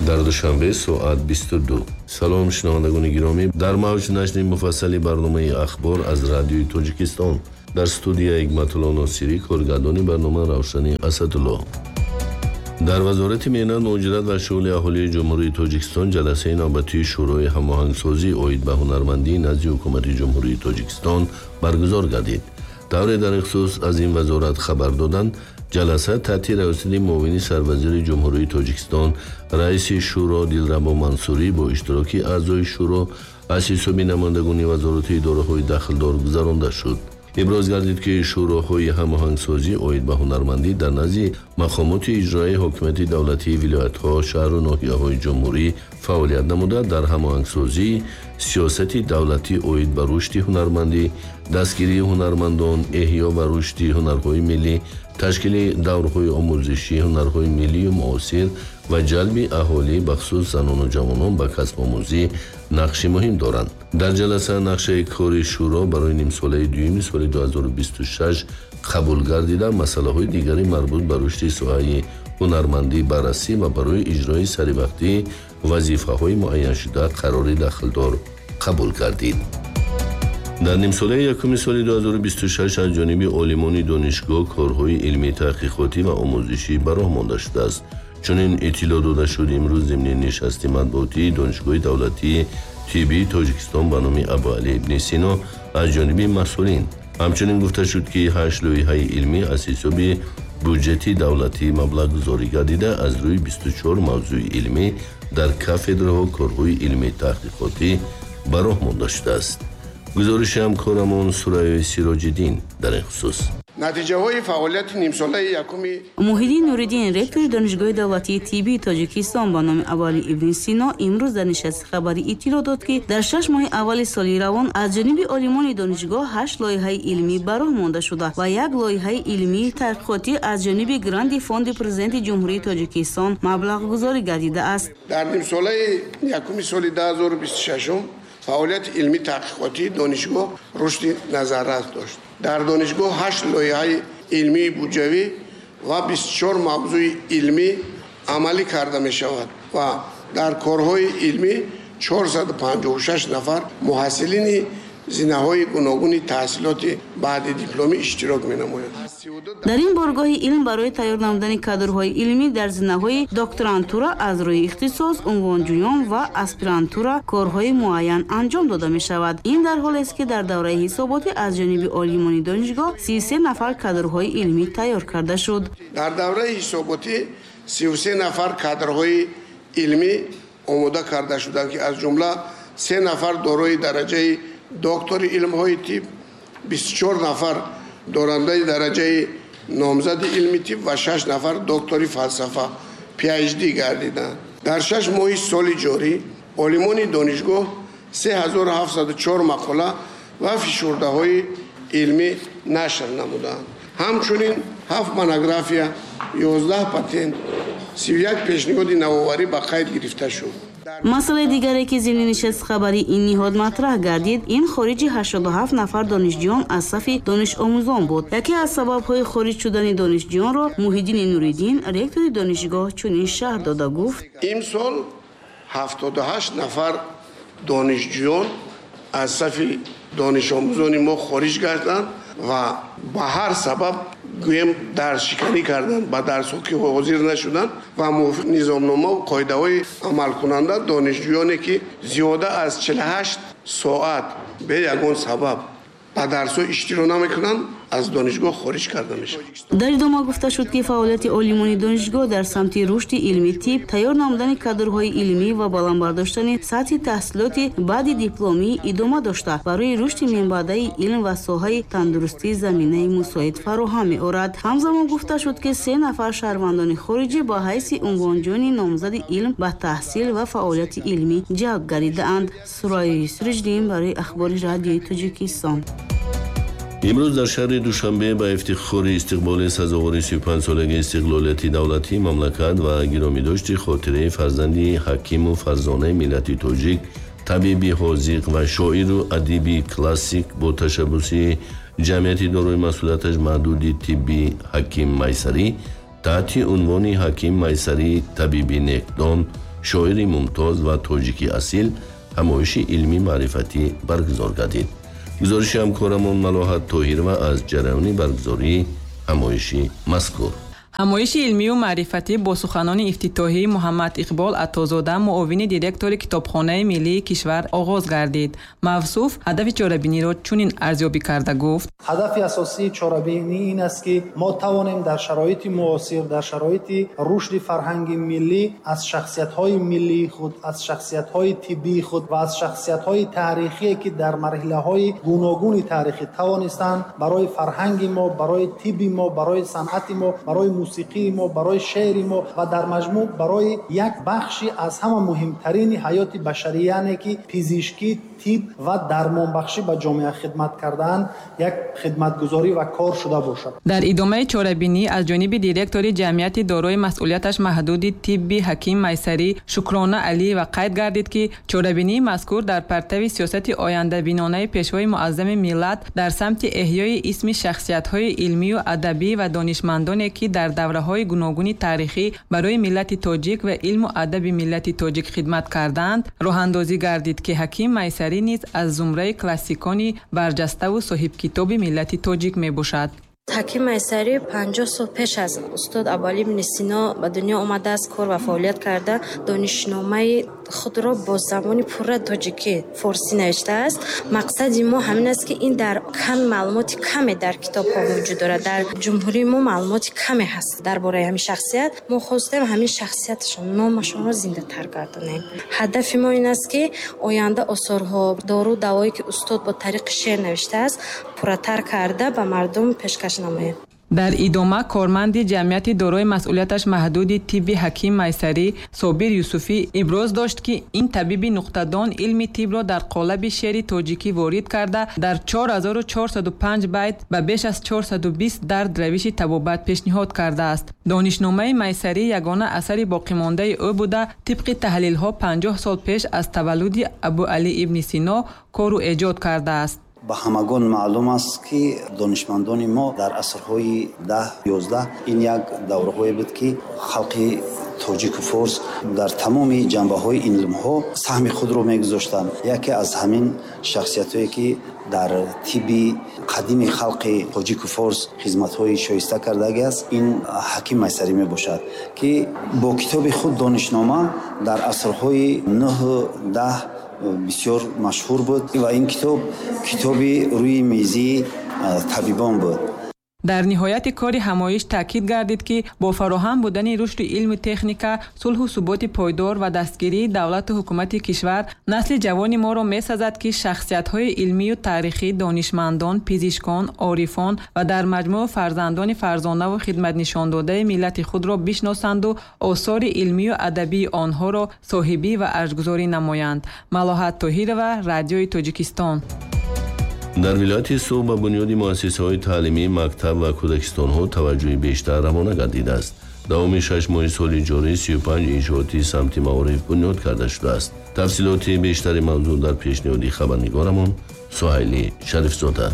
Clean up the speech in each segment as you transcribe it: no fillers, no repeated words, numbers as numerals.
Дар Душанбе соат 22. Салом, шунавандагони гиромӣ, дар мавҷ нашри муфассали барномаи «Ахбор» аз Радиои Тоҷикистон. Дар студия Ҳикматулло Носирӣ, коргардони барнома Равшани Асадулло. Дар Вазорати меҳнат, муҳоҷират ва шуғли аҳолии Ҷумҳурии Тоҷикистон ҷаласаи навбатии Шӯрои ҳамоҳангсозӣ оид ба ҳунармандӣ назди Ҳукумати Ҷумҳурии Тоҷикистон баргузор гардид. Тавре дар ин хусус аз ин вазорат хабар доданд, ҷаласа таҳти раёсати муовини сарвазири Ҷумҳурии Тоҷикистон, раиси шӯро Дилрабо Мансурӣ бо иштироки аъзои шӯро аз ҳисоби намояндагони вазорату идораҳои дахлдор гузаронда шуд. Иброз гардид, ки шӯроҳои ҳамоҳангсозӣ оид ба ҳунармандӣ дар назди мақомоти иҷроияи ҳокимияти давлатии вилоятҳо, шаҳру ноҳияҳои ҷумҳурӣ фаъолият намуда, дар ҳамоҳангсозии сиёсати давлатӣ оид ба рушди ҳунармандӣ, дастгирии ҳунармандон, эҳё ва рушди ҳунарҳои миллӣ, ташкили даврҳои омӯзишии ҳунарҳои миллию муосир ва ҷалби аҳолӣ, бахусус занону ҷавонон, ба касбомӯзӣ нақши муҳим доранд. Дар ҷаласа нақшаи кори шӯро барои нимсолаи дуюми соли 2026 қабул гардида, масъалаҳои дигари марбут ба рушди соҳаи ҳунармандӣ баррасӣ ва барои иҷрои саривақтии вазифаҳои муайяншуда қарори дахлдор қабул гардид. Дар нимсолаи якуми соли 2026 аз ҷониби олимони донишгоҳ корҳои илмии таҳқиқотӣ ва омӯзишӣ ба роҳ монда шудааст. Чунин иттилоъ дода шуд имрӯз зимни нишасти матбуотии Донишгоҳи давлатии тиббии Тоҷикистон ба номи Абуалӣ ибни Сино аз ҷониби масъулин. Ҳамчунин гуфта шуд, ки ҳашт лоиҳаи илмӣ аз ҳисоби буҷети давлатӣ маблағгузорӣ гардида, аз рӯи 24 мавзӯи илмӣ дар кафедраҳо корҳои илмии таҳқиқотӣ ба роҳ монда шудааст. Гузориши ҳамкорамон Сурайёи Сироҷиддин дар ин хусус. Натиҷаҳои фаъолияти нимсолаи якуми Муҳиддин Нуриддин, ректори Донишгоҳи давлатии тиббии Тоҷикистон ба номи Абуалӣ ибни Сино, имрӯз дар нишасти хабарӣ иттилоъ дод, ки дар 6 моҳи аввали соли равон аз ҷониби олимони донишгоҳ ҳашт лоиҳаи илмӣ ба роҳ монда шуда ва як лоиҳаи илмии таҳқиқотӣ аз ҷониби гранти Фонди Президенти Ҷумҳурии Тоҷикистон маблағгузорӣ гардидааст. Дар нимсолаи якуми соли 2026 фаъолияти илмӣ таҳқиқотии донишгоҳ рушди назаррас дошт. Дар донишгоҳ ҳашт лоиҳаи илмии буҷавӣ ва 24 мавзӯи илмӣ амалӣ карда мешавад ва дар корҳои илмӣ 456 нафар муҳассилини зинаҳои гуногуни таҳсилоти баъди дипломӣ иштирок менамоянд. Дар ин боргоҳи илм барои тайёр намудани кадрҳои илмӣ дар зинаҳои докторантура аз рӯи ихтисос, унвонҷӯён ва аспирантура корҳои муайян анҷом дода мешавад. Ин дар ҳолест, ки дар давраи ҳисоботӣ аз ҷониби олимони донишгоҳ 33 нафар кадрҳои илмӣ тайёр карда шуд. Дар давраи ҳисоботӣ 33 нафар кадрҳои илмӣ омода карда шуданд, ки аз ҷумла се нафар дорои дараҷаи доктори илмҳои тиб, 24 нафар дорандаи дараҷаи номзади илми тиб ва шаш нафар доктори фалсафа, PhD гардиданд. Дар 6 моҳи соли ҷорӣ олимони донишгоҳ 3704 мақола ва фишурдаҳои илмӣ нашр намуданд. Ҳамчунин ҳафт монография, 11 патент, 31 пешниҳоди навоварӣ ба қайд гирифта шуд. Масъалаи дигаре, ки зимни нишасти хабарии ин ниҳод матраҳ гардид, ин хориҷи 87 нафар донишҷӯён аз сафи донишомӯзон буд. Яке аз сабабҳои хориҷ шудани донишҷӯёнро Муҳиддини Нуриддин, ректори донишгоҳ, чунин шарҳ дода гуфт: Имсол 78 нафар донишҷӯён аз сафи донишомӯзони мо хориҷ гарданд ва ба ҳар сабаб, гӯем, дарсшиканӣ карданд, ба дарсҳо ки ҳозир нашуданд ва мувофиқ низомномаву қоидаҳои амалкунанда донишҷӯёне, ки зиёда аз 48 соат бе ягон сабаб ба дарсҳо иштирок намекунанд, аз донишгоҳ хориҷ карда мешавад. Дар идома гуфта шуд, ки фаъолияти олимони донишгоҳ дар самти рушди илми тиб, тайёр намудани кадрҳои илмӣ ва баланд бардоштани сатҳи таҳсилоти баъди дипломӣ идома дошта, барои рушди минбаъдаи илм ва соҳаи тандурустӣ заминаи мусоид фароҳам меорад. Ҳамзамон гуфта шуд, ки се нафар шаҳрвандони хориҷӣ ба ҳайси унвонҷӯёни номзади илм ба таҳсил ва фаъолияти илмӣ ҷалб гардидаанд. Сурайёи Сироҷиддин барои «Ахбори» Радиои Тоҷикистон. Имрӯз дар шаҳри Душанбе ба ифтихори истиқболи сазовори 35-солагии истиқлолияти давлатии мамлакат ва гиромидошти хотираи фарзанди ҳакиму фарзонаи миллати тоҷик, табиби ҳозиқ ва шоиру адиби классик, бо ташаббуси Ҷамъияти дорои масъулияташ маҳдуди тиббии Ҳаким Майсарӣ таҳти унвони Ҳаким Майсарӣ, табиби некдон, шоири мумтоз ва тоҷики асил ҳамоиши илмӣ маърифатӣ баргузор гардид. Гузориши ҳамкорамон Малоҳат Тоҳирова аз ҷараёни баргузории ҳамоиши мазкур. Ҳамоиши илмию маърифатӣ бо суханони ифтитоҳии Муҳаммад Иқбол Атозода, муовини директори Китобхонаи миллии кишвар, оғоз гардид. Мавсуф ҳадафи чорабиниро чунин арзёбӣ карда гуфт: Ҳадафи асосии чорабинӣ ин аст, ки мо тавонем дар шароити муосир, дар шароити рушди фарҳанги миллӣ аз шахсиятҳои миллии худ, аз шахсиятҳои тиббии худ ва аз шахсиятҳои таърихие, ки дар марҳилаҳои гуногуни таърихӣ тавонистанд барои фарҳанги мо, барои тибби мо, барои санъати мо, барои мусиқии мо, барои шеъри мо ва дар маҷмӯъ барои як бахши аз ҳама муҳимтарини ҳаёти башарӣ, яъне ки пизишкӣ, тиб ва дармонбахшӣ ба ҷомеа хидмат кардаанд, як хидматгузорӣ ва кор шуда бошад. Дар идомаи чорабинӣ аз ҷониби директори ҷамъияти дорои масъулияташ маҳдуди тибби Ҳаким Майсарӣ Шукрона Алиева қайд гардид, ки чорабинии мазкур дар партави сиёсати ояндабинонаи Пешвои муаззами миллат дар самти эҳёи исми шахсиятҳои илмию адабӣ ва донишмандоне, ки дар давраҳои гуногуни таърихӣ барои миллати тоҷик ва илму адаби миллати тоҷик хидмат кардаанд, роҳандозӣ гардид, ки Ҳаким Майсарӣ низ аз зумраи классикони барҷаставу соҳибкитоби миллати тоҷик мебошад. Ҳаким Майсарӣ 50 сол пеш аз устод Абуалӣ ибни Сино ба дунё омадааст, кор ва фаъолият карда, донишномаи худро бо забони пурра тоҷикӣ форсӣ навиштааст. Мақсади мо ҳамин аст, ки ин дар кам маълумоти каме дар китобҳо вуҷуд дорад. Дар ҷумҳурии мо маълумоти каме ҳаст дар бораи ҳамин шахсият. Мо хостем ҳамин шахсияташон, номашонро зиндатар гардонем. Ҳадафи мо ин аст, ки оянда осорҳо, дору давое, ки устод бо тариқи шеър навиштааст, пурратар карда ба мардум пешкаш намоем. Дар идома корманди ҷамъияти дорои масъулияташ маҳдуди тибби Ҳаким Майсарӣ Собир Юсуфӣ иброз дошт, ки ин табиби нуқтадон илми тибро дар қолаби шеъри тоҷикӣ ворид карда, дар 4405 байт ба беш аз 420 дард равиши табобат пешниҳод кардааст. Донишномаи Майсарӣ ягона асари боқимондаи ӯ буда, тибқи таҳлилҳо 50 сол пеш аз таваллуди Абуалӣ ибни Сино кору эҷод кардааст. Ба ҳамагон маълум аст, ки донишмандони мо дар асрҳои 10-11 ин як давраҳое буд, ки халқи тоҷику форс дар тамоми ҷанбаҳои илмҳо саҳми худро мегузоштанд. Яке аз ҳамин шахсиятҳое, ки дар тибби қадими халқи тоҷику форс хизматҳои шоиста кардагӣ аст, ин Ҳаким Майсарӣ мебошад, ки бо китоби худ Донишнома дар асрҳои 9-10 бисёр машҳур буд ва ин китоб китоби рӯи мизии табибон буд. Дар ниҳояти кори ҳамоиш таъкид гардид, ки бо фароҳам будани рушди илму техника, сулҳу суботи пойдор ва дастгирии давлату ҳукумати кишвар, насли ҷавони моро месазад, ки шахсиятҳои илмию таърихӣ, донишмандон, пизишкон, орифон ва дар маҷмӯъ фарзандони фарзонаву хидматнишондодаи миллати худро бишносанду осори илмию адабии онҳоро соҳибӣ ва арҷгузорӣ намоянд. Малоҳат Тоҳирова, Радиои Тоҷикистон. Дар вилояти Суғд ба бунёди муассисаҳои таълимӣ, мактаб ва кӯдакистонҳо таваҷҷӯҳи бештар равона гардидааст. Давоми 6 моҳи соли ҷорӣ 35 иншооти самти маориф бунёд карда шудааст. Тафсилоти бештари мавзӯъ дар пешниҳоди хабарнигорамон Суҳайли Шарифзода.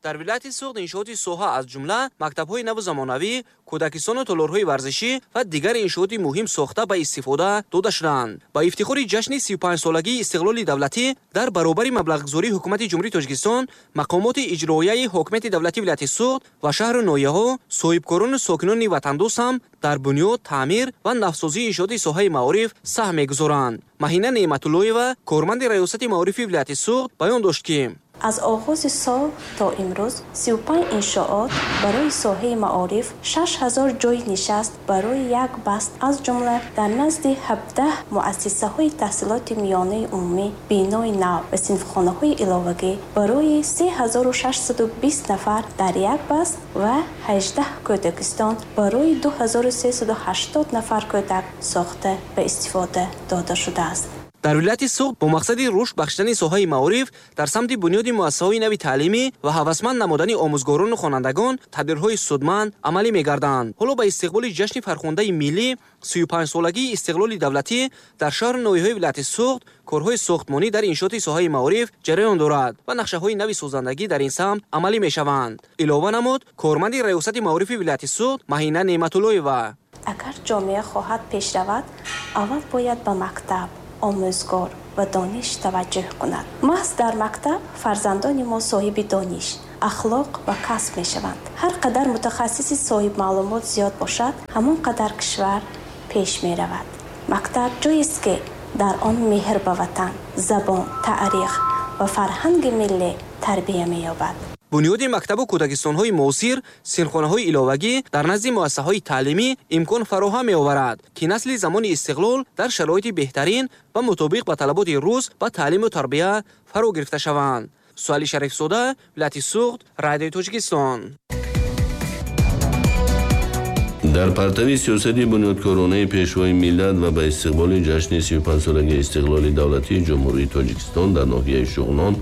Дар вилояти Суғд иншооти соҳа, аз ҷумла мактабҳои наву замонавӣ, кӯдакистону толорҳои варзишӣ ва дигар иншооти муҳим сохта ба истифода дода шудаанд. Ба ифтихори ҷашни 35-солагии истиқлоли давлатӣ дар баробари маблағгузории Ҳукумати Ҷумҳурии Тоҷикистон, мақомоти иҷроияи ҳокимияти давлатии вилояти Суғд ва шаҳру ноҳияҳо, соҳибкорону сокинони ватандӯст ҳам дар бунёд, таъмир ва навсозии иншооти соҳаи маориф саҳм мегузоранд. Маҳина Неъматуллоева, корманди раёсати маорифи вилояти Суғд, баён дошт, ки аз оғози сол то имрӯз 35 иншоот барои соҳаи маориф, 6000 ҷойи нишаст барои як баст, аз ҷумла дар назди 17 муассисаҳои таҳсилоти миёнаи умумӣ бинои нав ва синфхонаҳои иловагӣ барои 3620 нафар дар як баст ва 18 кӯдакистон барои 2380 нафар кӯдак сохта ба истифода дода шудааст. Дар вилояти Суғд бо мақсади рушд бахшидани соҳаи маориф дар самти бунёди муассисаҳои нави таълимӣ ва ҳавасманд намудани омӯзгорону хонандагон тадбирҳои судманд амалӣ мегарданд. Ҳоло ба истиқболи ҷашни фархундаи миллӣ 35-солагии истиқлоли давлатӣ дар шаҳру ноҳияҳои вилояти Суғд корҳои сохтмонӣ дар иншооти соҳаи маориф ҷараён дорад ва нақшаҳои нави созандагӣ дар ин самт амалӣ мешаванд. Илова намуд корманди раёсати маорифи вилояти Суғд Маҳина Неъматуллоева. Агар ҷомеа хоҳад пеш равад, аввал бояд ба мактаб, омӯзгор ва дониш таваҷҷӯҳ кунад. Маҳз дар мактаб фарзандони мо соҳиби дониш, ахлоқ ва касб мешаванд. Ҳар қадар мутахассиси соҳибмаълумот зиёд бошад, ҳамон қадар кишвар пеш меравад. Мактаб ҷоест, ки дар он меҳр ба ватан, забон, таърих ва фарҳанги миллӣ тарбия меёбад. Бунёди мактабу кӯдакистонҳои муосир, синфхонаҳои иловагӣ дар назди муассисаҳои таълимӣ имкон фароҳам меоварад, ки насли замони истиқлол дар шароити беҳтарин ва мутобиқ ба талаботи рӯз ба таълиму тарбия фаро гирифта шаванд. Суали Шарифзода, вилояти Суғд, Радиои Тоҷикистон. Дар партави сиёсати бунёдкоронаи Пешвои миллат ва ба истиқболи ҷашни 35-солагии истиқлоли давлатии Ҷумҳурии Тоҷикистон дар ноҳияи Шуғнон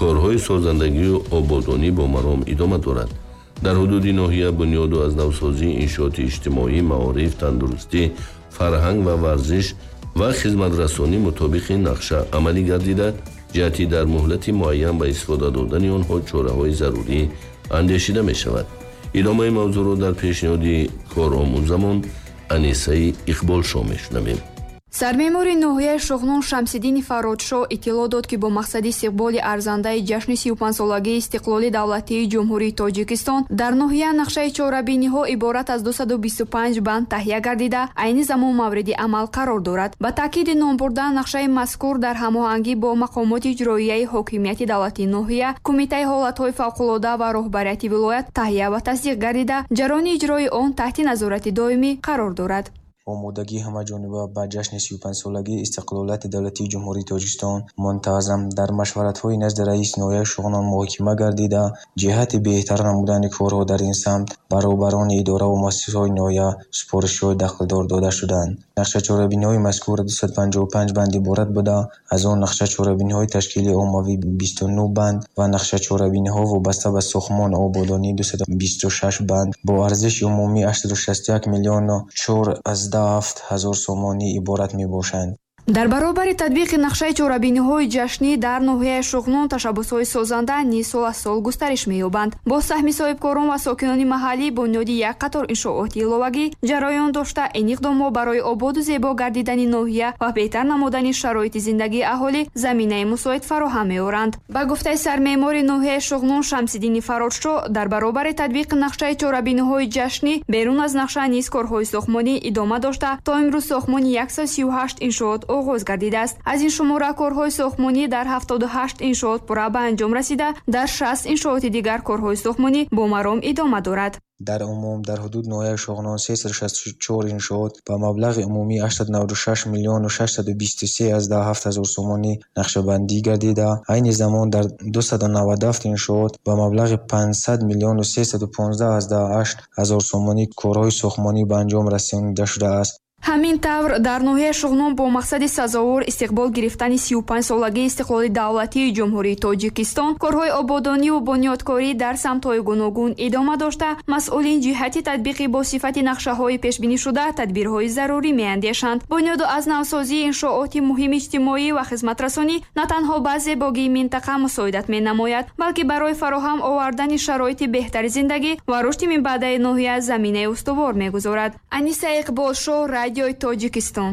корҳои созандагию ободонӣ бо маром идома дорад. Дар ҳудуди ноҳия бунёду аз навсозии иншооти иҷтимоӣ, маориф, тандурустӣ, фарҳанг ва варзиш ва хизматрасонӣ мутобиқи нақша амалӣ гардида, ҷиҳати дар муҳлати муайян ба истифода додани онҳо чораҳои зарурӣ андешида мешавад. Идомаи мавзӯъро дар пешниҳоди коромӯзамон Анисаи Иқболшоҳ мешунавем. Сармеъмори ноҳияи Шуғнон Шамсиддини Фарродшоҳ иттилоъ дод, ки бо мақсади истиқболи арзандаи ҷашни 35-солагии истиқлоли давлатии Ҷумҳурии Тоҷикистон дар ноҳия нақшаи чорабиниҳо иборат аз 225 банд таҳия гардида, айни замон мавриди амал қарор дорад. Ба таъкиди номбурда, нақшаи мазкур дар ҳамоҳангӣ бо мақомоти иҷроияи ҳокимияти давлатии ноҳия, Кумитаи ҳолатҳои фавқулода ва роҳбарияти вилоят таҳия ва тасдиқ гардида, ҷараёни иҷрои он таҳти назорати доимӣ қарор дорад. Омодагии ҳамаҷониба ба ҷашни 35-солагии истиқлолияти давлатии Ҷумҳурии Тоҷикистон мунтазам дар машваратҳои назди раиси ноҳияи Шуғнон муҳокима гардида, ҷиҳати беҳтар намудани корҳо дар ин самт ба роҳбарони идораву муассисаҳои ноҳия супоришҳои дахлдор дода шуданд. Нақша чорабиниҳои мазкур 255 банд иборат буда, аз он нақша чорабиниҳои ташкили оммавӣ 29 банд ва нақша чорабиниҳо вобаста ба сохтмону ободонӣ 226 банд бо арзиши умумии 861 миллиону 4,7 ҳазор сомонӣ иборат мебошанд. Дар баробари татбиқи нақшаи чорабиниҳои ҷашнӣ дар ноҳияи Шуғнон ташаббусҳои созанда низ сол аз сол густариш меёбанд. Бо саҳми соҳибкорон ва сокинони маҳаллӣ бунёди як қатор иншооти иловагӣ ҷараён дошта, ин иқдомҳо барои ободу зебо гардидани ноҳия ва беҳтар намудани шароити зиндагии аҳолӣ заминаи мусоид фароҳам меоранд. Ба гуфтаи сармеъмори ноҳияи Шуғнон Шамсиддини Фарродшоҳ, дар баробари татбиқи нақшаи чорабиниҳои ҷашнӣ берун аз нақша низ корҳои сохтмонӣ идома дошта, то имрӯз сохтмони 138 иншоот оғоз гардидааст. Аз ин шумора корҳои сохтмонӣ дар 78 иншоот пурра ба анҷом расида, дар 60 иншооти дигар корҳои сохтмонӣ бо маром идома дорад. Дар умум дар ҳудуди ноҳияи Шуғнон 364 иншоот ба маблағи умумии 896 миллиону 623,7 ҳазор сомонӣ нақшабандӣ гардида, айни замон дар 297 иншоот ба маблағи 500 миллиону 315,8 ҳазор сомонӣ корҳои сохтмонӣ ба анҷом расонида шудааст. Ҳамин тавр дар ноҳияи Шуғнон бо мақсади сазовор истиқбол гирифтани 35-солагии истиқлоли давлатии Ҷумҳурии Тоҷикистон корҳои ободониву бунёдкорӣ дар самтҳои гуногун идома дошта, масъулин ҷиҳати татбиқи бо сифати нақшаҳои пешбинишуда тадбирҳои зарурӣ меандешанд. Бунёду аз навсозии иншооти муҳими иҷтимоӣ ва хизматрасонӣ на танҳо ба зебогии минтақа мусоидат менамояд, балки барои фароҳам овардани шароити беҳтари зиндагӣ ва рушди минбаъдаи ноҳия заминаи устувор мегузорад. Аниса Иқболшоҳ, Радиои Тоҷикистон.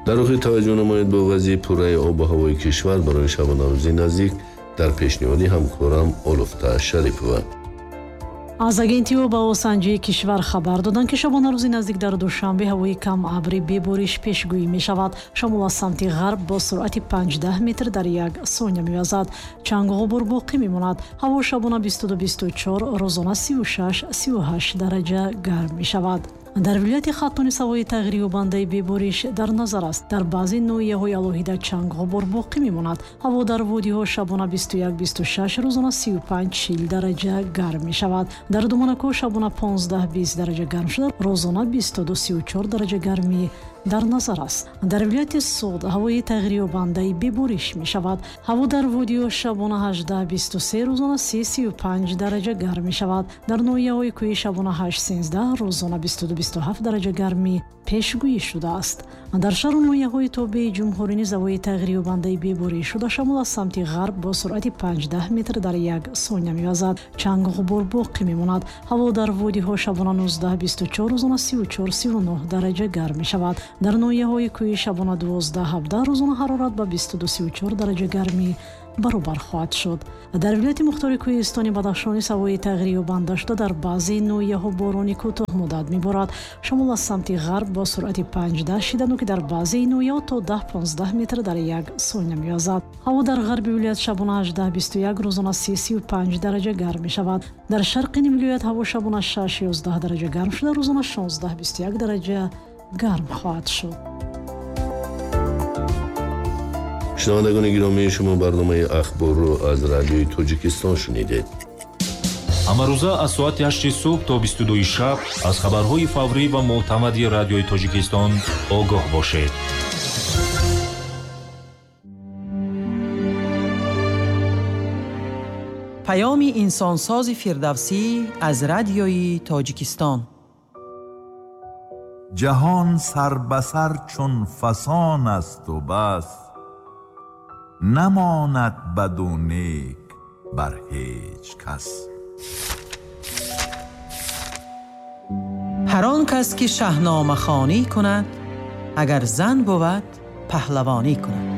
Дар охир таваҷҷӯҳ намоед ба вазъи пурраи обу ҳавои кишвар барои шабонарӯзи наздик дар пешниҳоди ҳамкорам Олуфта Шарипова. Аз агентии обҳавосанҷии кишвар хабар доданд, ки шабонарӯзи наздик дар Душанбе ҳавои кам абрӣ бебориш пешгӯӣ мешавад. Шамол аз самти ғарб бо суръати 5 метр дар як сония мевазад. Чангу ғубор боқӣ мемонад. Ҳаво шабона 22-24, рӯзона 36-38 дараҷа гарм мешавад. Дар вилояти Хатлон ҳавои тағйирёбандаи бебориш дар назар аст. Дар баъзе ноҳияҳои алоҳида чанг ғубор боқӣ мемонад. Ҳаво дар водиҳо шабона 21-26, рӯзона 35-40 дараҷа гарм мешавад. Дар Думонакӯҳ шабона 15-20 дараҷа гарм шуда, рӯзона 22-34 дараҷа гармӣ Дар назар аст. Дар вилояти Суғд ҳавои тағйирёбандаи бебориш мешавад. Ҳаво дар водиҳо шабона 18-23, рӯзона 30-35 дараҷа гарм мешавад. Дар ноҳияҳои кӯҳӣ шабона 8-13, рӯзона 22-27 дараҷа гармӣ пешгӯӣ шудааст. Дар шаҳру ноҳияҳои тобеи ҷумҳурӣ низ ҳавои тағйирёбандаи бебориш шуда, шамол аз самти ғарб бо суръати 5-10 метр дар як сония мевазад. Чангу ғубор боқӣ мемонад. Ҳаво дар водиҳо шабона 19-24, рӯзона 34-39 дараҷа гарм мешавад. Дар ноҳияҳои кӯҳӣ шабона 12-17, рӯзона ҳарорат ба 22-34 дараҷа гармӣ баробар хоҳад шуд. Дар вилояти мухтори кӯҳистони Бадахшон низ ҳавои тағйирёбанда шуда, дар баъзе ноҳияҳо борони кӯтоҳмуддат меборад. Шамол аз самти ғарб бо суръати 5-10 шидану ки дар баъзе ноҳияҳо то 10-15 метр дар як сония мевазад. Ҳаво дар ғарби вилоят шабона 18-21, рӯзона 30-35 дараҷа гарм мешавад. Дар шарқи вилоят ҳаво шабона 6-11 дараҷа гарм шуда, рӯзона 16-21 дараҷа гарм хоҳад шуд. Шунавандагони гиромӣ, шумо барномаи ахборро аз Радиои Тоҷикистон шунидед. Ҳамарӯза аз соати 8 субҳ то 22 шаб аз хабарҳои фаврӣ ва мӯътамади Радиои Тоҷикистон огоҳ бошед. Паёми инсонсози Фирдавсӣ аз Радиои Тоҷикистон. Ҷаҳон сар ба сар чун фасон асту бас, намонад баду нек бар ҳеҷ кас. Ҳар он кас ки шаҳномахонӣ кунад, агар зан бувад паҳлавонӣ кунад.